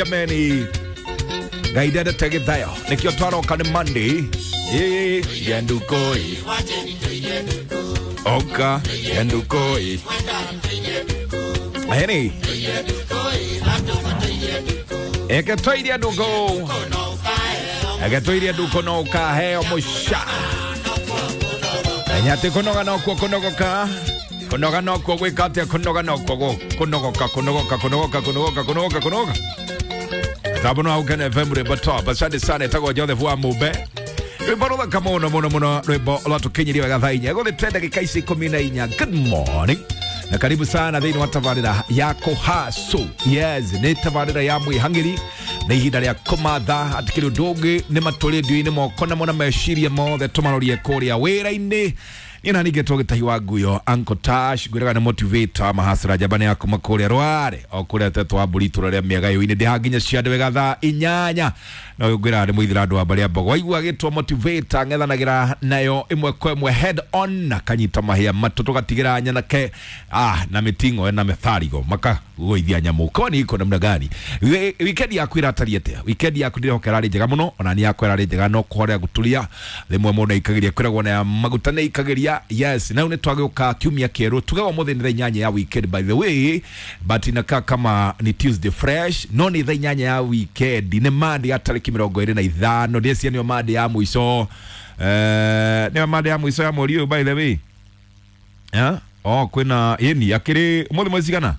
Jameni, Ngai ndendete gĩthayo nĩkĩo twaroka nĩ Monday. Ĩ yendukoi oka yendukoi Eni eke tũirie nduku, eke tũirie nduku no ũkaheo mũca menya atĩ kũnoga nokuo kũnogoka, kũnoga nokuo gwĩka atĩa, kũnoga nokuo kũnogoka, kũnogoka, kũnogoka, kũnogoka, kũnogoka, kũnogoka. Tabu no Gukena FM, rwimbo top. Asante sana, etagwo Joseph wa Mumbe, rwimbo ruthaka muno muno muno, rwimbo rwatukinyirie wega thaa 4 gũthĩ ndagĩka ici 14. Good morning na karibu sana thĩinĩ wa tabarĩra ya kũhacu. Yes, nĩ tabarĩra ya mwĩhang'ĩri, nĩ ihinda rĩa kũmatha atikĩrĩ ũndũ ũngĩ nĩ matũrĩndio-inĩ moko namo na meciria mothe tũmarorie kũrĩa wĩra-inĩ. Niĩ na ningĩ twagĩtahi wa nguyo Uncle Tash ngwĩraga nĩ motivator mahasra njamba ya kuma kũrĩa rware o kũrĩa tetwo wa mbũri itũra rĩa mĩaga-inĩ ndĩ nginya ciande wega thaa 8 no ngwĩraga nĩ mũithĩra andũ wa mbarĩ ya mbogo waigua gĩtwo motivator ng'ethanagĩra nayo ĩmwe kwa ĩmwe head on, akanyita mahĩa matũ tũgatigĩra nyanake na mĩting'o na mĩtharigo makagũithia nyamũ. Kwani iko namna gani? Weekend yaku ĩratariĩ atĩa? Weekend yaku ndĩrehoka ĩrarĩ njega mũno, ona niĩ yakwa ĩrarĩ njega, no kũhorea gũturia rĩmwe mũndũ aikagĩria kwĩragwo na ya maguta nĩ aikagĩria. Yes, na rĩu nĩ twagĩũka kiumia kĩerũ, tugaga ũmũthĩ nĩ thaa 8 ya weekend by the way, but inakaa kama ni Tuesday fresh, no nĩ thaa 8 ya weekend, nĩ Monday ya tarĩki 25. Ndĩcia nĩyo Monday ya mũico, nĩyo Monday ya mũico ya mweri ũyũ by the way. Eh? Oh, kwĩna ĩni akĩrĩ ũmũthĩ mwezi cigana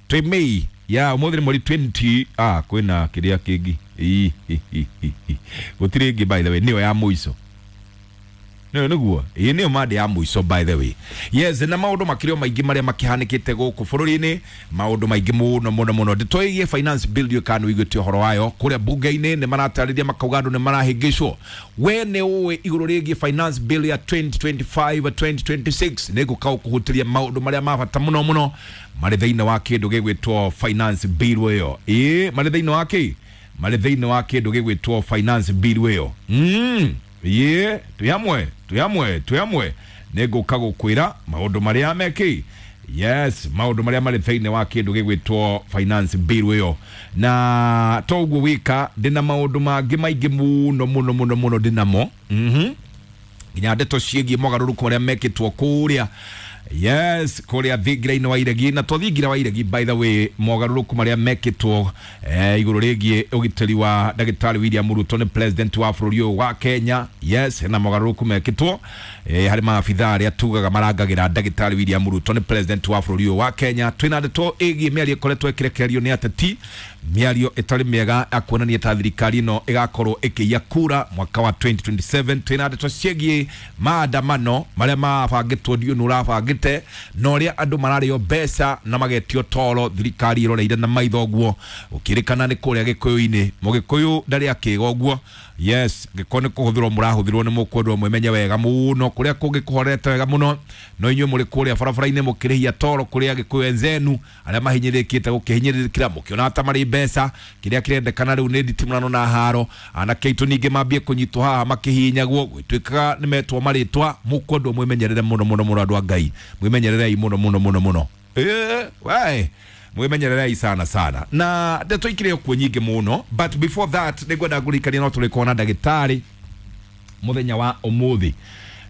twĩ May ya ũmũthĩ nĩ mweri 20. Kwĩna kĩrĩa kĩngĩ. Ĩ, hi, hi, hi, hi. Gũtirĩ ĩngĩ by the way, nĩyo ya mũico, nĩyo nĩguo ĩĩ nĩyo Monday ya mũico by the way. Yes, na maũndũ makĩrĩ o maingĩ marĩa makĩhanĩkĩte gũkũ bũrũri-inĩ, maũndũ maingĩ mũno mũno mũno. Ndeto ĩgiĩ finance bill ndiũĩ kana nĩũiguĩte ũhoro wayo. Kũrĩa bunge-inĩ nĩ maratarĩria makauga andũ nĩ marahĩngĩcwo. We nĩ ũĩ igũrũ rĩgiĩ finance bill ya 2025 2026? Nĩ ngũka gũkũhutĩria maũndũ marĩa ma bata mũno mũno marĩ thĩinĩ wa kĩndũ gĩgwĩtwo finance bill ĩyo. Ĩĩ, marĩ thĩinĩ wa kĩ, marĩ thĩinĩ wa kĩndũ gĩgwĩtwo finance bill ĩyo. Ĩĩ, twĩ hamwe, twĩ hamwe, twĩ hamwe. Nĩ ngũka gũkwĩra maũndũ marĩa mekĩ, yes, maũndũ marĩa marĩ thĩinĩ wa kĩndũ gĩgwĩtwo finance bill ĩyo. Na to ũguo wika, ndĩna maũndũ mangĩ maingĩ mũno mũno mũno mũno ndĩnamo, nginya ndeto ciĩgiĩ mogarũrũku marĩa mekĩtwo kũrĩa, yes, kũrĩa thingira-inĩ wa iregi, na to thingira wa iregi by the way, mogarũrũku marĩa mekĩtwo igũrũ rĩgiĩ ũgitĩri wa ndagĩtarĩ William Ruto nĩ president wa bũrũri ũyũ wa Kenya. Yes, hena mogarũrũku mekĩtwo harĩ maabitha arĩa tugaga marangagĩra ndagĩtarĩ William Ruto nĩ president wa bũrũri ũyũ wa Kenya. Twĩna ndeto ĩgiĩ mĩario ĩkoretwo ĩkĩrekererio nĩ ateti, mĩario ĩtarĩ mĩega ya kuonania ta thirikari ĩno ĩgakorwo ĩkĩiya kura mwaka wa 2027. Twĩna ndeto ciĩgiĩ maandamano marĩa mabangĩtwo, ndiũ nĩ ũrabangĩte, na ũrĩa andũ mararĩo mbeca na magetio toro thirikari ĩroreire na maitho ũguo, gũkĩrĩkana nĩ kũrĩa gĩkũyũ-inĩ. Mũgĩkũyũ ndarĩ akĩga ũguo. Yes, ngĩkorwo nĩ kũhũthĩrwo mũrahũthĩrwo nĩ mũkwendwo mwĩmenye wega mũno, kũrĩa kũngĩ kũhorete wega mũno, no inyuĩ mũrĩ kũrĩa barabara-inĩ mũkĩrĩhia toro kũrĩa gĩkũyũ enzenu arĩa mahinyĩrĩrĩkĩte gũkĩhinyĩrĩrĩkĩra mũkĩona ta marĩ mbeca. Kĩrĩa kĩrendekana rĩu nĩ nditimũrano na haro. Anake aitũ ningĩ mambie kũnyitwo haha makĩhihinyagwo, gwĩtuĩkaga nĩ metwo marĩtwa. Mũkwendwo mwĩmenyerere mũno mũno mũno, andũ a Ngai, mwĩmenyererei mũno mũno mũno mũno. We mwĩmenyererei sana sana, na ndeto ikĩrĩ kuo nyingĩ mũno, but before that nĩngwenda ngũririkania no tũrĩkorwo na ndagĩtarĩ mũthenya wa ũmũthĩ,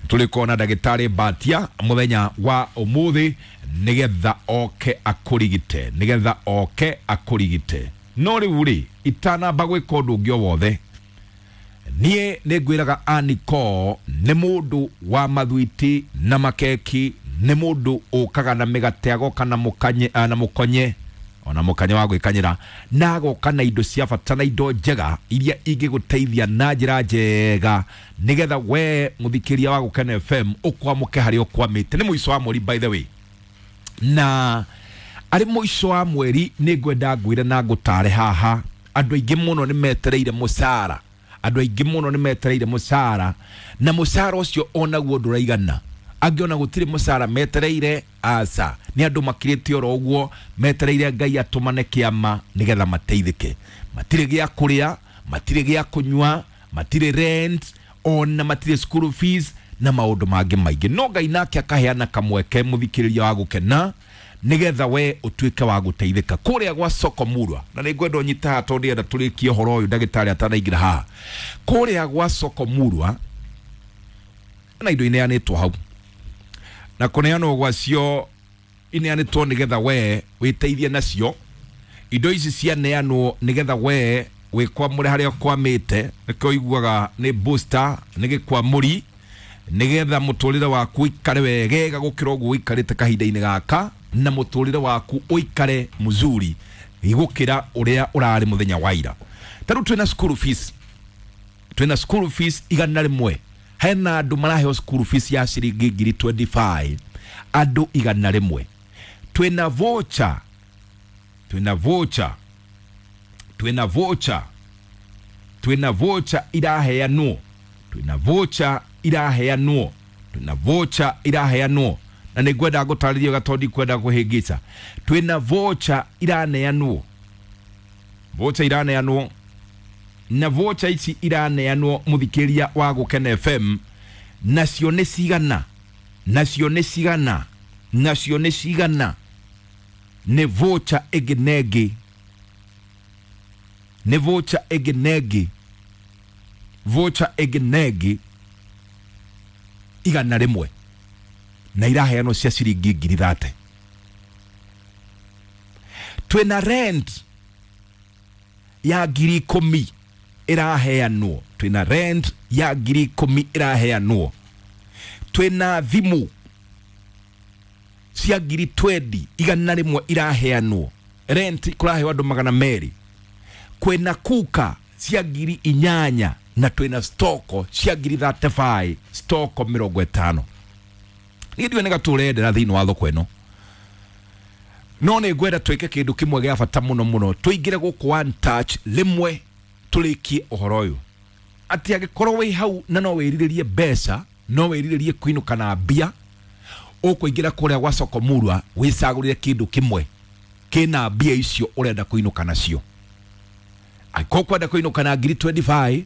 tũrĩkorwo na ndagĩtarĩ Mbatia mũthenya wa ũmũthĩ nĩgetha oke akũrigite, nĩgetha oke akũrigite. No rĩu rĩ, itanamba gwĩka ũndũ ũngĩ o wothe, niĩ nĩ ngwĩraga Aniko nĩ mũndũ wa mathwiti na makeki, nĩ mũndũ ũkaga na mĩgate, agoka na mũkanye, na mũkonye, ona mũkanye wa gwĩkanyĩra, na agoka na indo cia bata na indo njega iria ingĩgũteithia na njĩra njega nĩgetha we mũthikĩria wa Gũkena FM ũkwamũke harĩa ũkwamĩte. Nĩ mũico wa mweri by the way, na arĩ mũico wa mweri nĩ ngwenda ngwĩre na ngũtare haha, andũ aingĩ mũno nĩ metereire mũcara, andũ aingĩ mũno nĩ metereire mũcara, na mũcara ũcio onaguo ndũraigana. Angĩ ona gũtirĩ mũcara metereire, aca, nĩ andũ makirĩte oro ũguo metereire Ngai atũmane kĩama nĩgetha mateithĩke. Matirĩ gĩa kũrĩa, matirĩ gĩa kũnyua, matirĩ rent, ona matirĩ school fees na maũndũ mangĩ maingĩ, no Ngai nake akaheana kamweke mũthikĩrĩria wa Gũkena. Nigetha we utuike wa guteithika kuria gwa soko murwa. Na ningwenda unyite haha tondu ndienda turikie uhoro uyu ndagitari atanaingira haha. Kuria gwa soko murwa na indo ineanitwo hau, na kuneanwo gwacio ineanitwo nigetha we witeithie nacio. Indo ici cianeanwo nigetha we wikwamure haria ukwamite, nikio iguaga ni booster ni gikwamuri, nigetha muturire waku uikare wegega gukira uguo uikarite kahinda-ini gaka, na muturire waku uikare muzuri gukira uria urari muthenya wa ira. Ta riu twina school fees, twina school fees 100. Hena andu maraheo school fees ya ciringi ngiri 25, andu 100. Twina voucher, twina voucher, twina voucher, twina voucher iraheanwo, twina voucher iraheanwo, twina voucher iraheanwo. Na nĩngwenda ngũtarĩrie wega tondũ ndikwenda kũhĩngĩca. Twina voucher iraneanwo, voucher iraneanwo, na voucher ici iraneanwo mũthikĩria wa Gũkena FM, nacio nĩ cigana, nacio nĩ cigana, nacio nĩ cigana. Nĩ voucher ĩngĩ na ĩngĩ, nĩ voucher ĩngĩ na ĩngĩ, voucher ĩngĩ na ĩngĩ 100, na iraheanwo cia ciringi ngiri 30. Twina rent ya ngiri 10 iraheanwo, twina rent ya ngiri 10 iraheanwo. Twina thimu cia ngiri 20 100 iraheanwo, rent kuraheo andu 200. Kwina kuka cia ngiri 8, na twina stoko cia ngiri 35, stoko 50. Niĩ ndiũĩ nĩ gatũrendera thĩinĩ wa thoko ĩno, no nĩ ngwenda twĩke kĩndũ kĩmwe gĩa bata mũno mũno, tũingĩre gũkũ one touch rĩmwe tũrĩkie ũhoro ũyũ. Atĩ angĩkorwo wĩ hau na no wĩrirĩrie mbeca, no wĩrirĩrie kũinũka na mbia, ũkũingĩra kũrĩa gwa soko murwa wĩcagũrĩre kĩndũ kĩmwe kĩna mbia icio ũrenda kũinũka nacio. Angĩkorwo ũkwenda kũinũka na ngiri 25,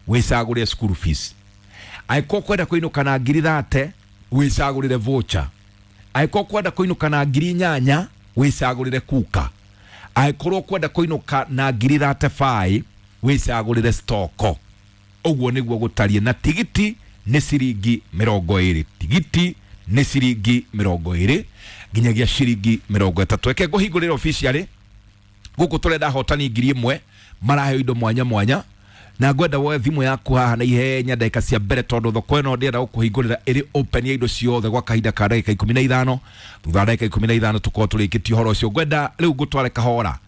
wĩcagũrĩre school fees. Angĩkorwo ũkwenda kũinũka na ngiri 30, wĩcagũrĩre voucher. Angĩkorwo ũkwenda kũinũka na ngiri 8, wĩcagũrĩre kuka. Angĩkorwo ũkwenda kũinũka na ngiri 35, wĩcagũrĩre stoko. Ũguo nĩguo gũtariĩ. Na tigiti nĩ ciringi 20, tigiti nĩ ciringi 20 nginyagia ciringi 30. Reke ngũhingũrĩre officially gũkũ tũrenda ahotani 1000 maraheo indo mwanya mwanya, na ngwenda woe thimũ yaku haha na ihenya ndagĩka cia mbere, tondũ thoko ĩno ndĩrenda gũkũhingũrĩra ĩrĩ open ya indo ciothe gwa kahinda ka ndagĩka 15. Thutha wa ndagĩka 15 tũkorwo tũrĩkĩtie ũhoro ũcio. Ngwenda rĩu ngũtware kahora,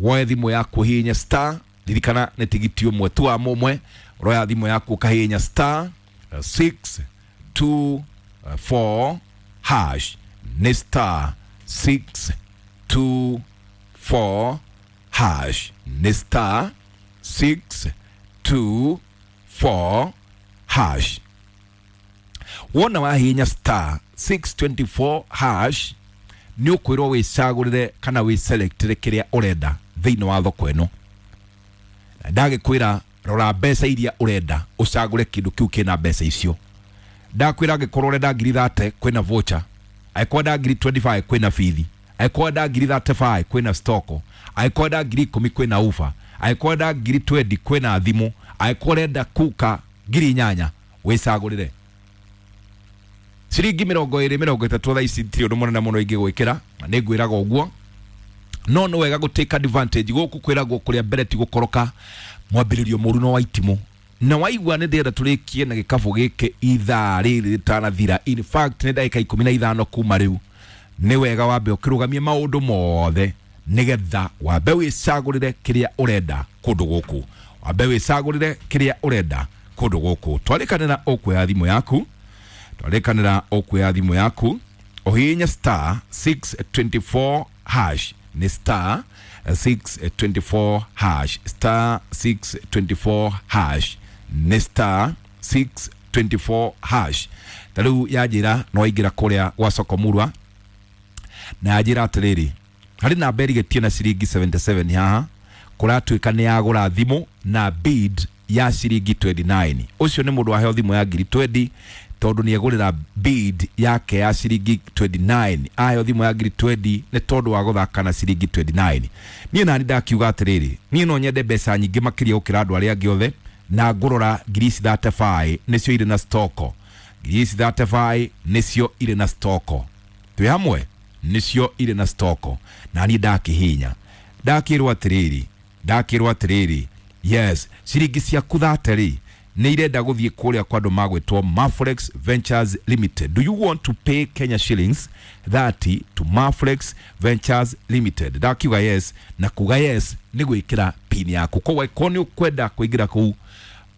woe thimũ yaku ũhihinye star, ririkana nĩ tigiti ũmwe tu wa mũmwe, roya thimũ yaku ũkahihinya star 6 2 4 hash, nĩ star 6 2 4 hash, nĩ star 6 2 4 hash. Wona wahihinya star 624 hash nĩ ũkwĩrwo wĩcagũrĩre kana wĩselectĩre kĩrĩa ũrenda thĩinĩ wa thoko ĩno. Na ndagĩkwĩra rora mbeca iria ũrenda ũcagũre kĩndũ kĩu kĩna mbeca icio. Ndakwĩra angĩkorwo ũrenda ngiri 30 kwĩna voucher, angĩkorwo ũrenda ngiri 25 kwĩna bithi, angĩkorwo ũrenda ngiri 35 kwĩna stoko, angĩkorwo ũrenda ngiri 10 kwĩna ufa, angĩkorwo ũrenda ngiri 20 kwĩna thimũ, angĩkorwo ũrenda kuka ngiri 8 wĩcagũrĩre. Ciringi 20 30 thaa ici ti ũndũ mũnene mũno ingĩgwĩkĩra, na nĩngwĩraga ũguo, no nĩ wega gũ take advantage. Gũkũ kwĩragwo kũrĩa mbere ti gũkoroka, mwambĩrĩrio mũru no wa itimũ. Na waigua nĩ ndĩrenda tũrĩkie na gĩkabũ gĩkĩ ithaa rĩrĩ rĩtanathira, in fact nĩ ndagĩka 15 kuma rĩu, nĩ wega wambe ũkĩrũgamie maũndũ mothe nĩgetha wambe wĩcagũrĩre kĩrĩa ũrenda kũndũ gũkũ, wambe wĩcagũrĩre kĩrĩa ũrenda kũndũ gũkũ. Twarĩkanĩra ũkuoya thimũ yaku, twarĩkanĩra ũkuoya thimũ yaku ũhihinye star 624 hash, nĩ star 624 hash, star 624 hash, nĩ star 624 hash. Ta rĩu yanjĩra no waingĩra kũrĩa gwa soko murwa, na yanjĩra atĩrĩrĩ, harĩ namba ĩrigĩtie na ciringi 77 haha, kũratuĩka nĩ yagũra thimũ na bid ya ciringi 29. Ũcio nĩ mũndũ waheo thimũ ya ngiri 20. Tondu nĩ egũrĩra bid yake ya ciringi 29, ayo thimũ ya ngiri 20 nĩ tondũ wa gũthaka na ciringi 29. Niĩ nani ndakiuga atĩrĩrĩ, niĩ no nyende mbeca nyingĩ makĩria gũkĩra andũ arĩa angĩ othe, na ngũrora ngiri ici 35 nĩcio irĩ na stoko. Ngiri ici 35 nĩcio irĩ na stoko, twĩ hamwe, nĩcio irĩ na stoko. Na niĩ ndakĩhinya ndakĩrwo atĩrĩrĩ, ndakĩrwo atĩrĩrĩ, yes, ciringi ciaku 30 nĩ irenda gũthiĩ kũrĩa kwa andũ magwĩtwo Maflex Ventures Limited. Do you want to pay Kenya shillings 30 to Maflex Ventures Limited? Ndakiuga yes, na kuga yes nĩ gwĩkĩra pin yaku. Koguo ko nĩ ũkwenda kũingĩra kũu,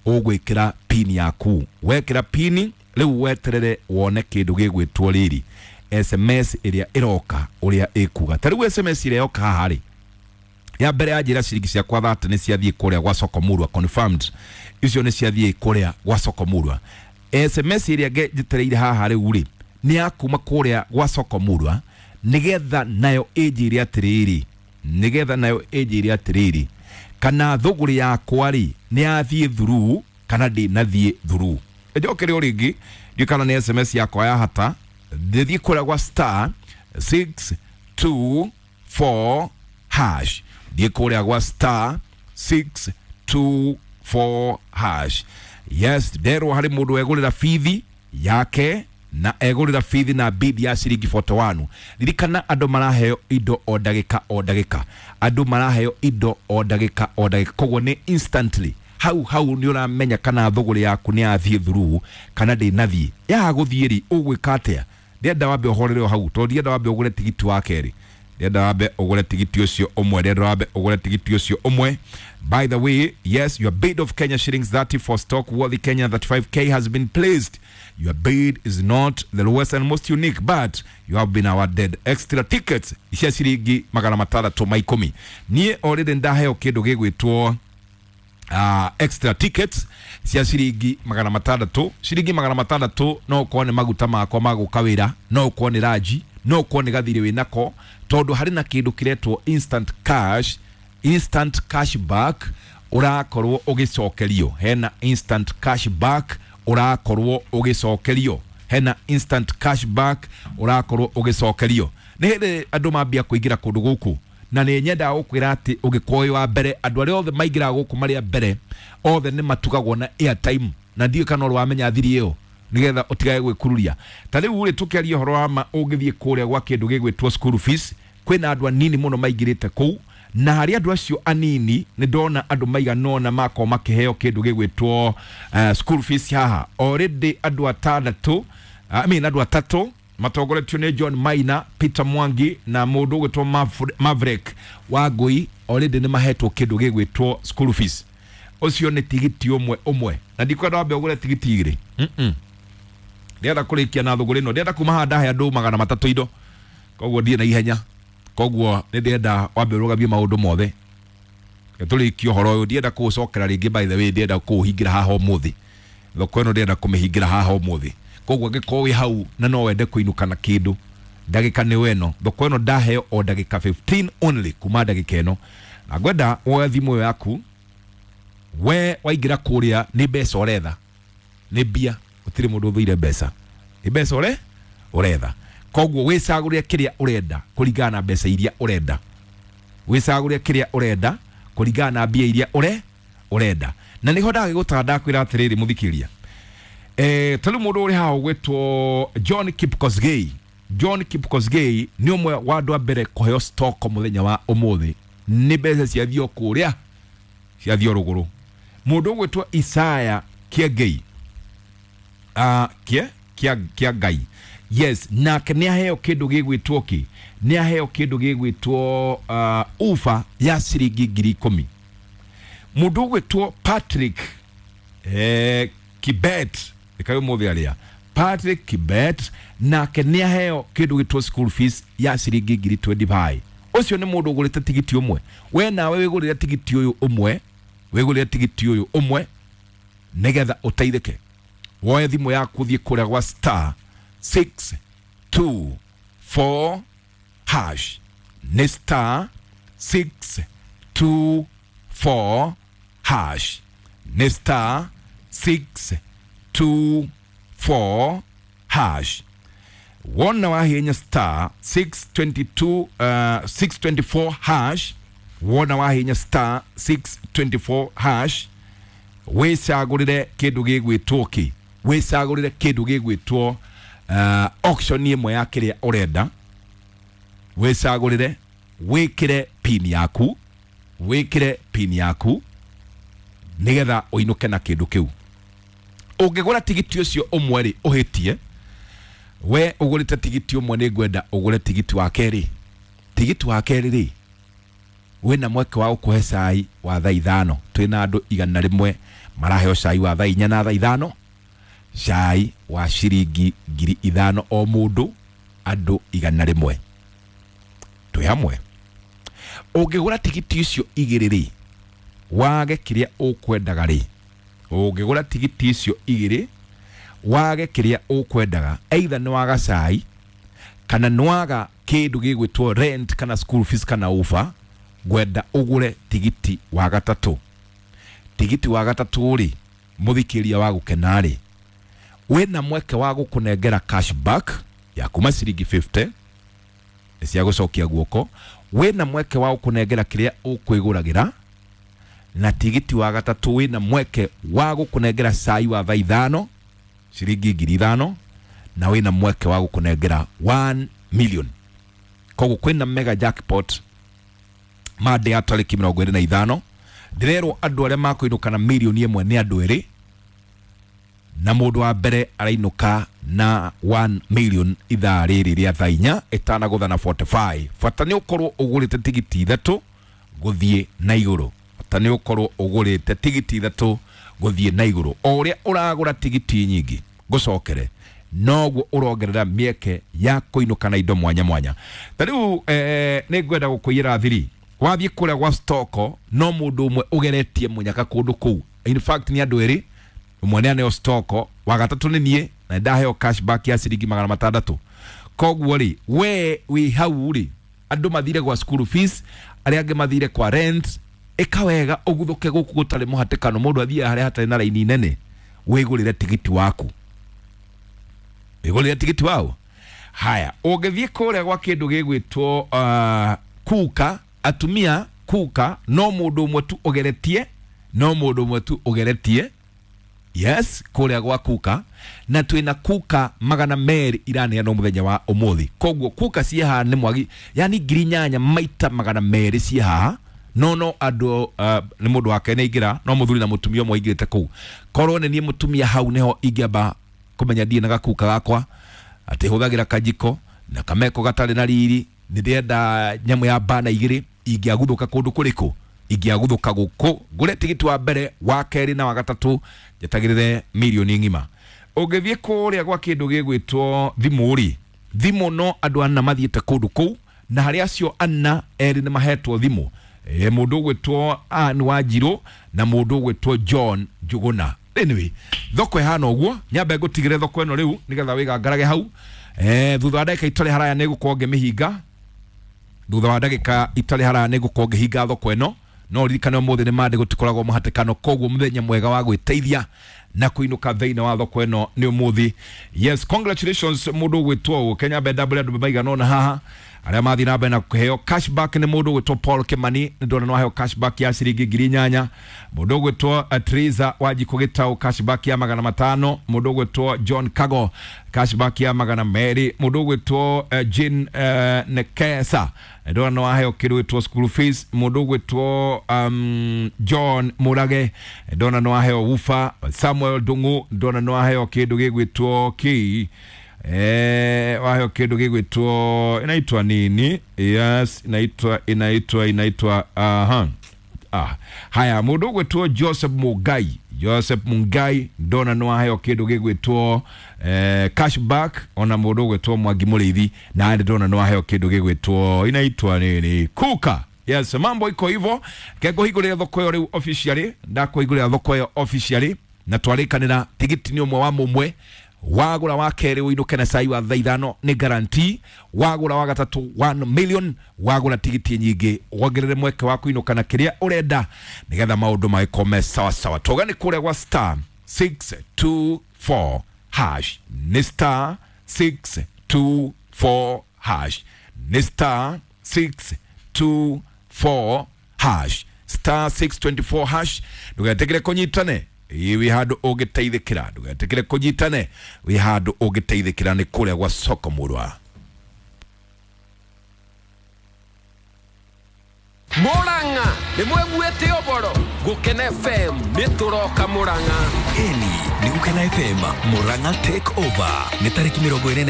ũgwĩkĩra pin yaku. Wekĩra pin rĩu weterere wone kĩndũ gĩgwĩtwo rĩrĩ SMS ĩrĩa ĩroka ũrĩa ĩkuga. Ta rĩu SMS ĩrĩa yoka haha rĩ, ya mbere ya njĩra ciringi ciakwa 30 nĩ ciathiĩ kũrĩa gwa Soko Murwa, confirmed icio nĩ ciathiĩ kũrĩa gwa Soko Murwa. SMS ĩrĩa njetereire haha rĩu rĩ nĩ ya kuma kũrĩa gwa Soko Murwa, nĩgetha nayo ĩnjĩre atĩrĩrĩ, nĩgetha nayo ĩnjĩre atĩrĩrĩ kana thũgũrĩ yakwa rĩ nĩ yathiĩ through kana ndĩnathiĩ through. Ĩnjokere o rĩngĩ, ndiũĩ kana nĩ SMS yakwa ya hata. Ndĩthiĩ kũrĩa gwa star 624 hash, thiĩ kũrĩa gwa star 624 hash. Yes, nderwo harĩ mũndũ egũrĩra bithi yake na egũrĩra bithi na bid ya ciringi 41. Ririkana andũ maraheo indo o ndagĩka o ndagĩka, andũ maraheo indo o ndagĩka o ndagĩka, koguo nĩ instantly hau hau nĩ ũramenya kana thũgũrĩ yaku nĩ yathiĩ through kana ndĩnathiĩ. Yaga gũthiĩ rĩ, ũgwĩka atĩa? Ndĩrenda wambe ũhorere o hau, tondũ ndienda wambe ũgũre tigiti wa kerĩ, ndĩrenda wambe ũgũre tigiti ũcio ũmwe, ndĩrenda wambe ũgũre tigiti ũcio ũmwe. By the way, yes, your bid of Kenya shillings 30 for stock worthy Kenya 35K has been placed. Your bid is not the lowest and most unique, but you have been awarded extra tickets cia ciringi 610. Niĩ already ndaheo kĩndũ gĩgwĩtwo extra tickets cia ciringi 600. Ciringi 600 no ũkorwo nĩ maguta makwa ma gũka wĩra, no ũkorwo nĩ ranji, no ũkorwo nĩ gathirĩ wĩnako, tondũ harĩ na kĩndũ kĩretwo instant cash, instant cash back ũrakorwo ũgĩcokerio. Hena instant cash back ũrakorwo ũgĩcokerio, hena instant cash back ũrakorwo ũgĩcokerio. Nĩ hĩndĩ andũ mambia kũingĩra kũndũ gũkũ, na nĩ nyendaga gũkwĩra atĩ ũngĩkorwo wĩ wa mbere, andũ arĩa othe maingĩraga gũkũ marĩ a mbere othe nĩ matugagwo na airtime, na ndiũĩ kana ũrĩ wamenya thiri ĩyo, nĩgetha ũtigage gwĩkururia. Ta rĩu rĩ, tũkĩaria ũhoro wa ma, ũngĩthiĩ kũrĩa gwa kĩndũ gĩgwĩtwo school fees, kwĩna andũ anini mũno maingĩrĩte kũu, na harĩ andũ acio anini nĩ ndona andũ maigana ũna makorwo makĩheo kĩndũ gĩgwĩtwo school fees haha already. Andũ atandatũ, I mean andũ atatũ matongoretio nĩ John Maina, Peter Mwangi na mũndũ ũgwĩtwo Maverick Wangui, already nĩ mahetwo kĩndũ gĩgwĩtwo school fees. Ũcio nĩ tigiti ũmwe ũmwe, na ndikwenda wambe ũgũre tigiti igĩrĩ. Ndĩrenda kũrĩkia na thũgũrĩ ĩno, ndĩrenda kuma haha ndahe andũ 300 indo, koguo ndiĩ na ihenya, koguo nĩ ndĩrenda wambe ũrũgamie maũndũ mothe tũrĩkie ũhoro ũyũ. Ndienda kũũcokera rĩngĩ, by the way, ndĩrenda kũũhingĩra haha ũmũthĩ. Thoko ĩno ndĩrenda kũmĩhingĩra haha ũmũthĩ. Koguo angĩkorwo wĩ hau na no wende kũinũka na kĩndũ, ndagĩka nĩ ĩno. Thoko ĩno ndaheo o ndagĩka 15 only kuma ndagĩka ĩno, na ngwenda woe thimũ ĩyo yaku. We waingĩra kũrĩa nĩ mbeca ũretha, nĩ mbia, gũtirĩ mũndũ ũthũire mbeca, nĩ mbeca ũre ũretha. Koguo wĩcagũrĩre kĩrĩa ũrenda kũringana na mbeca iria ũrenda, wĩcagũrĩre kĩrĩa ũrenda kũringana na mbia iria ũre ũrenda. Na nĩho ndagĩgũtara ndakwĩra atĩrĩrĩ, mũthikĩria, ta rĩu mũndũ ũrĩ haha ũgwĩtwo John Kipkosgei. John Kipkosgei nĩ ũmwe wa andũ a mbere kũheo stock mũthenya wa ũmũthĩ, nĩ mbeca ciathiĩ o kũrĩa, ciathiĩ o rũgũrũ. Mũndũ ũgwĩtwo Isaya Kĩengei, kie kia kia Ngai, yes, nake nĩ aheo kĩndũ gĩgwĩtwo kĩ, nĩ aheo kĩndũ gĩgwĩtwo ufa ya ciringi 10,000. Mũndũ ũgwĩtwo Patrick Kibet, ĩkaĩ ũmũthĩ arĩa Patrick Kibet, nake nĩ aheo kĩndũ gĩtwo school fees ya ciringi ngiri 25. Ũcio nĩ mũndũ ũgũrĩte tigiti ũmwe. We nawe wĩgũrĩre tigiti ũyũ ũmwe, wĩgũrĩre tigiti ũyũ ũmwe nĩgetha ũteithĩke. Woe thimũ yaku, thiĩ kũrĩa gwa star 624 hash, nĩ star 624 hash, nĩ star 624 4 hash. Wona wahihinya star 622 624 hash, wona wahihinya star 624 hash, wicagurire kindu gigwitwo ki, wicagurire kindu gigwitwo auction imwe ya kiria urenda, wicagurire wikire pin yaku, wikire pin yaku nigetha uinuke na kindu kiu. Ungigura tigiti ucio umwe ri uhitie, we ugurite tigiti umwe ni ngwenda ugure tigiti wa keri, tigiti wa keri ri wina mweke wa gukuhe cai wa thaa 5. Twina andu 100 maraheo cai wa thaa 4 na thaa 5, cai wa ciringi 5,000 o mundu, andu 100 twi hamwe. Ungigura tigiti icio igiri ri wage kiria ukwendaga ri, ungigura tigiti icio igiri wage kiria ukwendaga, either ni waga cai kana ni waga kindu gigwitwo rent kana school fees kana ufa, ngwenda ugure tigiti wa gatatu. Tigiti wa gatatu ri muthikiria wa gukena ri wina mweke wa gukunengera cashback ya kuma ciringi 50 cia gucokia guoko, wina mweke wa gukunengera kiria ukwiguragira, na tigiti wa gatatu wina mweke wa gukunengera cai wa thaa 5 ciringi 5,000, na wina mweke wa gukunengera 1 million. Koguo kwina mega jackpot mande ya tariki 25. Ndirerwo andu aria makuinuka na milioni 1 ni andu eri, na mundu wa mbere arainuka na 1 million ithaa riri ria thaa 4 itanagutha na 45. Bata ni ukorwo ugurite tigiti 3 guthie na iguru, bata ni ukorwo ugurite tigiti 3 guthie na iguru. O uria uragura tigiti nyingi gucokere noguo urongerera mieke ya kuinuka na indo mwanya mwanya. Ta riu ni ngwenda gukuiyira thiri wathie kuria gwa stoko no mundu umwe ugeretie munyaka kundu kuu, in fact ni andu eri, umwe ni aneo stoko, wa gatatu ni nie na ndaheo cashback ya ciringi 600. Koguo ri we wi hau ri andu mathire gwa school fees, aria angi mathire kwa rent, ika wega uguthuke guku gutari muhatikano, mundu athie haria hatari na raini nene, wigurire tigiti waku, wigurire tigiti wao. Haya, ungithie kuria gwa kindu gigwitwo kuka, atumia kuka no mundu umwe tu ugeretie, no mundu umwe tu ugeretie, yes, kuria gwa kuka, na twina kuka 200 iraneanwo muthenya wa umuthi. Koguo kuka cie haha ni mwagi, yani 8,000 maita 200 cie haha, no andu ni mundu wake ni ingira, no muthuri na mutumia umwe aingirite kuu. Korwo ni nie mutumia hau niho ingiamba kumenya ndie na gakuka gakwa ati huthagira kajiko na kameko gatari na riri, ni ndĩrenda nyamu ya bana 2 ingĩaguthuka kundu kuriku, ingĩaguthuka guku ngure tigiti wa mbere wa keri na wa gatatu njetagirire milioni ng'ima. Ũngĩthiĩ kũrĩa gwa kĩndũ gĩgwĩtwo thimũ rĩ, thimũ no andũ ana mathiĩte kũndũ kũu, na harĩ acio ana erĩ nĩ mahetwo thimũ, mũndũ ũgwĩtwo Ann Wanjirũ na mũndũ ũgwĩtwo John Njuguna. Anyway, thoko ĩhana ũguo, nyambe ngũtigĩre thoko ĩno rĩu nĩgetha wĩgangarage hau. Thutha wa ndagĩka itarĩ haraya nĩ ngũkorwo ngĩmĩhinga, thutha wa ndagĩka itarĩ haraya nĩ ngũkorwo ngĩhinga thoko ĩno. No ririkane ũmũthĩ nĩ mande gũtikoragwo mũhatĩkano, koguo mũthenya mwega wa gwĩteithia na kuinuka thĩinĩ wa thoko ĩno nĩ ũmũthĩ. Yes, congratulations mũndũ ũgwĩtwo ũũ Kenya Mbenda mbere andũ maigana ũna haha arĩa mathiĩ na mbere na kũheo cashback nĩ mũndũ ũgwĩtwo Paul Kimani, nĩ ndona no aheo cashback ya ciringi 8,000. Mũndũ ũgwĩtwo Teresa Wanjikũ Gĩtaũ cashback ya 500. Mũndũ ũgwĩtwo John Kago cashback ya 200. Mũndũ ũgwĩtwo Jane Nekesa ndona no aheo kĩndũ gĩtwo school fees. Mũndũ ũgwĩtwo John Murage ndona no aheo wufa. Samuel Ndung'u ndona no aheo kĩndũ gĩgwĩtwo kĩ waheo kĩndũ gĩgwĩtwo inaitwa nini? Yes, inaitwa aha. Haya, mũndũ ũgwĩtwo Joseph Mungai, Joseph Mungai ndona no aheo kĩndũ gĩgwĩtwo cashback. Ona mũndũ ũgwĩtwo Mwangi Mũrĩithi na ndona no aheo kĩndũ gĩgwĩtwo inaitwa nini? Kuka. Yes, mambo iko hivyo. Kengũhingũrĩra thoko ĩyo rĩu officially, ndakũhingũrĩra thoko ĩyo officially na twarĩkanĩra tigiti nĩ ũmwe wa mũmwe, wagura wa kerĩ ũinũke na cai wa thaa 5 nĩ guarantee, wagura wa gatatu 1 million, wagura tigiti nyingĩ wongerere mweke wa kũinũka na kĩrĩa ũrenda nĩgetha maũndũ magĩkorwo me sawa sawa. Tũgane kũrĩa gwa star 624 hash. hash. Nĩ star 624 hash. Nĩ star 624 hash. Star 624 hash. Ndũgetĩkĩre kũnyitane ĩ wĩ handũ ũngĩteithĩkĩra, ndũgetĩkĩre kũnyitane wĩ handũ ũngĩteithĩkĩra nĩ kũrĩa gwa soko mũrwa. Murang'a nĩ mwĩguĩte ũboro Gũkena FM nĩ tũroka Murang'a. Eni nĩ Gũkena FM Murang'a Take Over nĩ tarĩki 28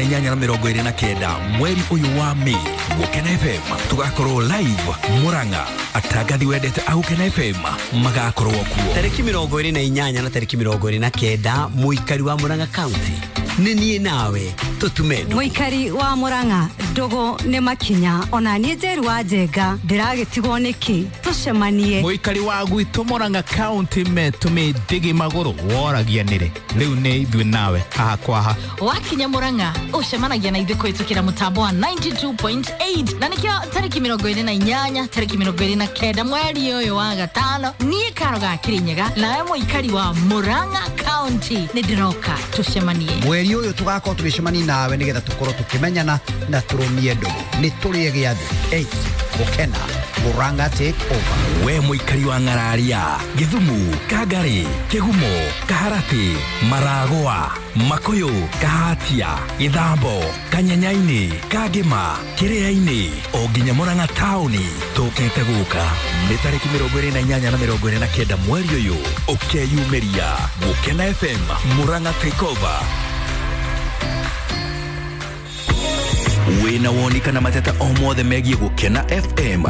na 29 mweri ũyũ wa Mĩ. Gũkena FM tũgakorwo live Murang'a, atangathi wendete a Gũkena FM magakorwo kuo. Tarĩki 28 na tarĩki 29 mũikari wa Murang'a County nĩ niĩ nawe tũtume ndũgũ. Mũikari wa Murang'a ndũgũ nĩ makinya ona niĩ Njeru wa Njenga ndĩragĩtigwo nĩkĩ tũcemanie. Mũikari wa gwitũ Murang'a County metũmĩ ndigi magũrũ woragia nĩrĩ rĩu nĩ ithuĩ nawe haha kwa ha. Wakinya Murang'a ũcemanagia na ithuĩ kũhĩtũkĩra mũtambo wa 92.8 na nĩkĩo tarĩki 28 tarĩki 29 mweri ũyũ wa gatano niĩ Karo ga Kĩrĩnyaga nawe mũikari wa Murang'a County nĩ ndĩroka tũcemanie. Mweri ũyũ tũgakorwo tũgĩcemania nawe nĩgetha tũkorwo tũkĩmenyana na tũrũmie ndũgũ. Nĩ tũrĩe gĩathĩ 8 Gũkena Murang'a Take Over. We mũikari wa Ng'araria, Gĩthumu, Kangari, Kĩgumo, Kaharatĩ, Maragwa, Makũyũ, Kahatia, Gĩthambo, Kanyanyainĩ, Kangĩma, Kĩrĩa-inĩ o nginya Murang'a taũni tũkĩte gũka nĩ tarĩki 28 na 29 mweri ũyũ ũkeyumĩria Gũkena FM Murang'a Take Over. Wĩna woni kana mateta o mothe megiĩ Gũkena FM.